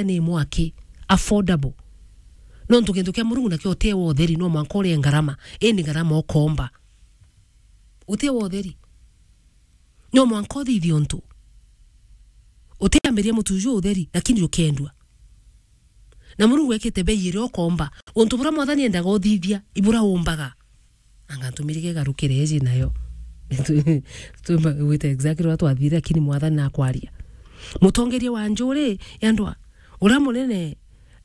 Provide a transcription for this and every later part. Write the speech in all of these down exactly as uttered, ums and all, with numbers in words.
ni mwaki, affordable. Nontu gintu kia Murungu nakio utie wa utheri, no mwanka urie ngarama, indi ngarama ukomba. Utie wa utheri. No mwanka uthithie untu. Utiambiria mutu uju utheri, lakini ukendua. Na Murungu ekite bei iria ukomba. Untu buria Mwathani endaga uthithia, ibura umbaga. Anga ntumirige garukire eji nayo. Tumba wite exactly uria twathire, lakini Mwathani nakwaria. Mutongeria wa njuri, yandwa, uria munene,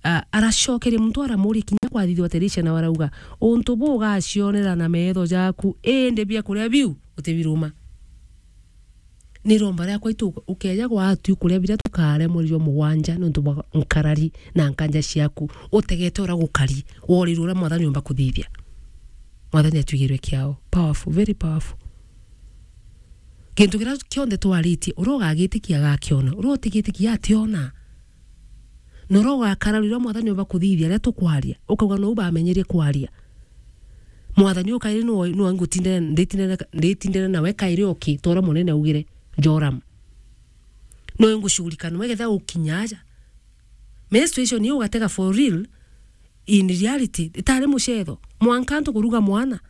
a, aracokeria muntu aramuria kinya kwathithua Teresia, na arauga, "Untu buu ugacionera na metho jaku, indi biakuria biu utibiruma." Ni iromba riakwa itu ukeja gwatu kuria biria tukaremwa rio mugwanja nontu bwa nkarari na nkanja ciaku, utegete uria gukari, worirwe uria Mwathani umba kuthithia. Mwathani atwigirwe kiao. Powerful, very powerful. Gintu kiria kionthe twaritie, uria ugagitikia agakiona, uria utigitikia ationa. Na uria ugakara riria Mwathani umba kuthithia, riria tukwaria, ukauga, "Nou bamenyerie kwaria." Mwathani ukairi no, no ngutindire, nditindire, nditindire nawe kairi oki, tora munene augire, Joram. No ngushughulika nawe getha ukinya aja. Menstruation iyo ugatega for real, in reality, itari mucetho. Mwanka antu kuruga mwana.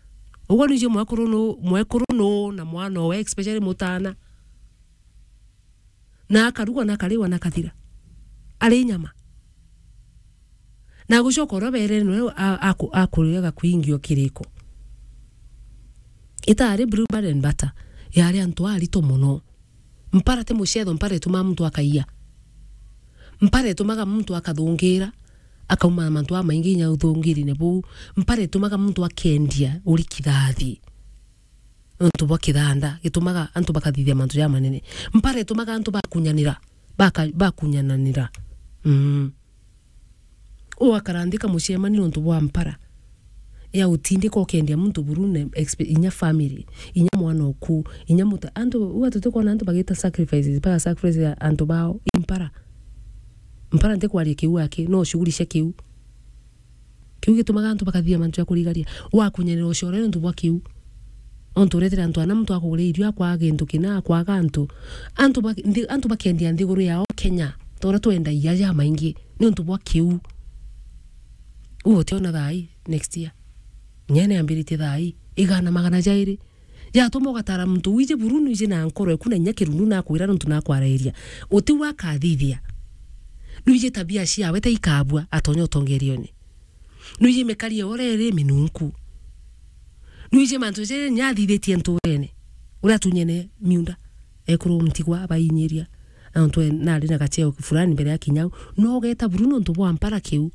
Uguo nije mwekuru nu, mwekuru nu na mwana owe, especially mutana. Na akarugwa na akariwa na akathira. Ari nyama. Na gucoka uria beere nwe a-, aku-, akuriaga kwingi o kiriko. Itari blue bread and butter. Yari antu arito mono. Mpara ti mucetho, mpara itumaga muntu akaiya. Mpara itumaga muntu akathungira, akauma mantu amaingi inya uthungirine buu. Mpara itumaga muntu akendia uri kithathi. Nontu bwa kithanda, gitumaga antu bakathithia mantu jamanene. Mpara itumaga antu bakunyanira, baka-, bakunyananira. Mm. Ugakara nthi kamucemani nontu bwa mpara. Ya utindika ukendia muntu buru ne expe-, inya family, inya mwana oku, inya muta-, antu, uga tutikona antu bagita sacrifices, baga sacrifice ya antu bao, i mpara. Mpara ntikwaria kiu aki, no shughuli cia kiu. Kiu gitumaga antu bakathithia mantu ja kurigaria. Wakunyanira ucore nontu bwa kiu. Ontu uretera antu ana muntu akugura irio, akwaga gintu kina, akwaga antu. Antu ba-, nthi-, antu bakendia nthiguru yao Kenya. Tora twendagia jamaingi. Nontu bwa kiu. Uu utiona thaa ii, next year. Nyene ambiritie thaa ii. Igana magana jairi. Jatuma ugatara muntu wiji buru nwiji na nkoro eku na inya kirundu nakwira nontu nakwarairia. Uti u akathithia. Nwiji tabia ciawe ta ikabua atonya utongerione. Nwiji mikarie uria iri minunku. Nwiji mantu jiri nyathithitie nturene. Uria atunyene miunda. Ekuru ntigwa abainyiria. Antu e-, nari na gacheo fulani mbere ya kinyau. No ugeta buru nontu bwa mpara kiu.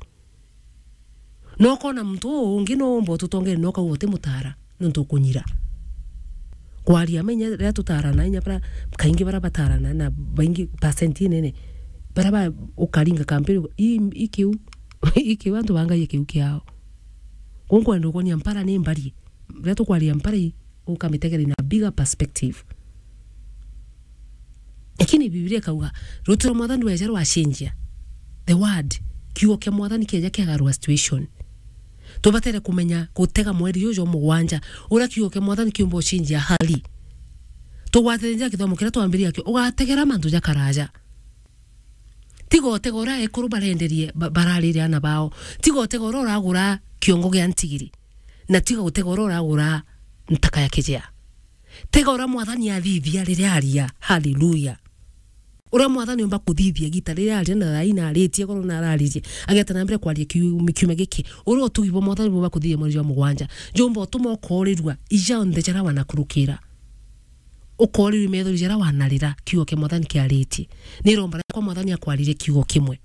No ukona muntu uu ungi no umba ututongere, no ukauga utimutara, nontu ukunyira. Kwaria ma inya riria tutarana, inya bara, kaingi bara batarana, na baingi percent inene, bara ba, ukaringa kampeni, i, i kiu, i kiu, antu bangaie kiu kiao. Kuu nkwenda ukonia mpara ni mbari. Riria tukwaria mpara i, ukamitegera in a bigger perspective. Lakini Biblia ikauga, ruuji rwa Mwathani rweja rwacenjia. The word, kiugo kia Mwathani kieja kiagarua situation. Tubatere kumenya gutega mweri uju jwa mugwanja, uria kiugo kia Mwathani kiumba ucenjia hali. Tugwatire njira kithomo kiria twambirie akio, ugategera mantu ja karaja. Tiga utega uria ekuru barenderie, ba-, bararire ana bao. Tiga utega uria uragura kiongo gia ntigiri. Na tiga utega uria uragura ntaka ya kijea. Tega uria Mwathani athithia riria aria. Haleluya. Uria Mwathani umba kuthithia gita riria aria na thaa ina aritie, korwo na araririe. Ageta na mbere kwaria kiu-, kiumia giki. Uria utugi bwa Mwathani bumba kuthithia mweri jwa mugwanja. Jumba utuma ukoorirua ijaonthe jaria wanakurukira. Ukoorirua methori jaria wanarira, kiugo kia Mwathani kiaritie. Ni iromba riakwa Mwathani akwaririe kiugo kimwe.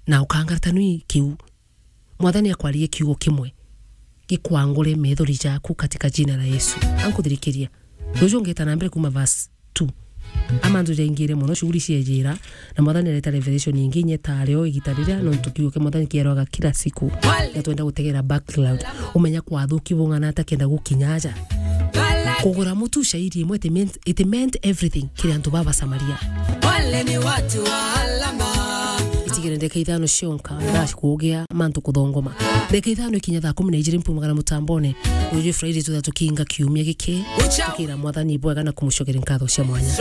Na ukangarata nui kiu. Mwathani akwaririe kiugo kimwe gikwangure methori jaku katika jina la Yesu. Ankuthirikiria. Ruju ngeta na mbere kuma verse two. Amantu jaingire mono, shughuli ciejira, na Mwathani areta revelation ingi inya tario igita riria, nontu kiugo kia Mwathani kierwaga kila siku. Na twenda gutegera background. Umenya kwathuki bung'ana atakenda gukinya aja. Kugura mutu shairi imwe, it meant, it meant everything kiri antu baba Samaria. Wale ni watu wa alama. Itigire ndeka ithano cionka, ndash kugia mantu kuthongoma. Ndeka ithano ikinya thaa kumi na ijiri mpumagara mutambone. Uyu Friday tutha tukinga kiumia giki. Tukira Mwathani bwega na kumucokeria nkatho cia mwanya.